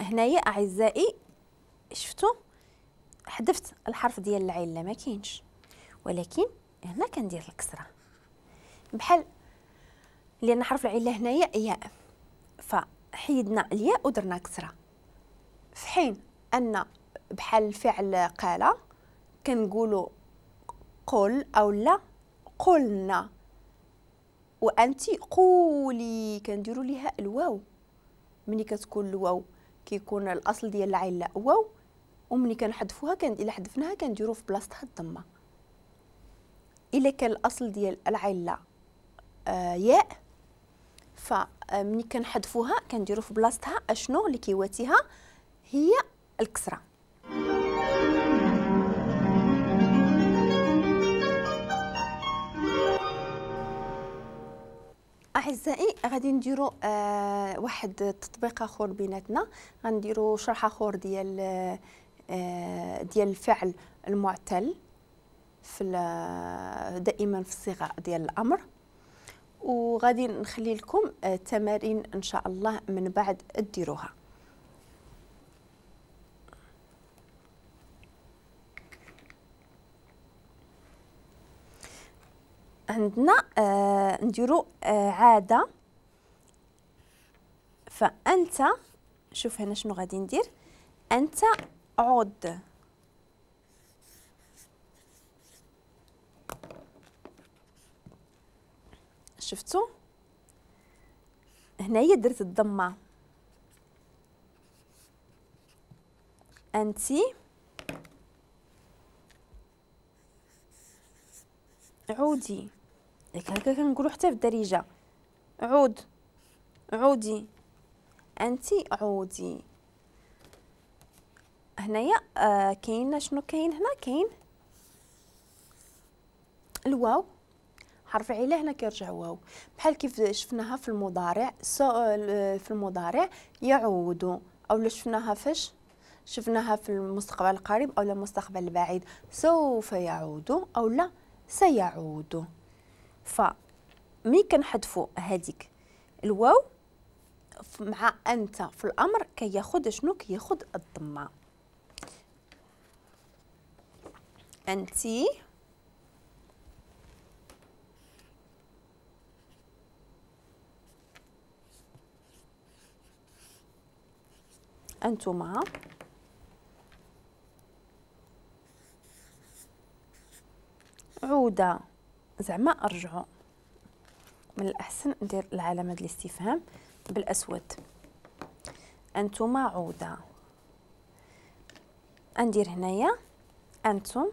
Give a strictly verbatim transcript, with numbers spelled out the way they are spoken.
هنايا اعزائي شفتوا حذفت الحرف ديال العلة ما كاينش، ولكن هنا كندير الكسرة بحال لان حرف العلة هنايا ياء، فحيدنا الياء ودرنا كسره. في حين ان بحال الفعل قال كنقولوا قل او لا قلنا، وانت قولي كنديروا ليها الواو. ملي كتكون الواو كيكون الاصل ديال العلة واو، وملي كنحذفوها كان الا حذفناها كنديروا في بلاصتها الضمة. الا كان الاصل ديال العلة آه ياء، فملي كنحذفوها كنديروا في بلاصتها اشنو اللي كيواتيها هي الكسرة. اعزائي غادي نديروا آه واحد التطبيق اخر بيناتنا، غنديروا شرح اخر ديال آه ديال الفعل المعتل في دائما في الصيغة ديال الامر، وغادي نخلي لكم تمارين ان شاء الله من بعد ديروها. عندنا آه نديرو آه عادة. فانت شوف هنا شنو غادي ندير، انت عود، شفتوا هنايا درت الضمة، انتي عودي، ياك هكا كنقولوا حتى في الدارجة عود عودي، انتي عودي. هنايا آه كاين شنو كاين هنا؟ كاين الواو، حرف عله هنا كيرجع واو، بحال كيف شفناها في المضارع، في المضارع يعود، او شفناها فاش شفناها في المستقبل القريب او المستقبل البعيد، سوف يعود او لا سيعود. فملي كنحذفوا هذيك الواو مع انت في الامر كياخذ شنو؟ كياخذ الضمة. انتي انتما عودة، زعما ارجعوا. من الاحسن ندير العلامة ديال الاستفهام بالاسود. انتما عودة، ندير هنايا انتم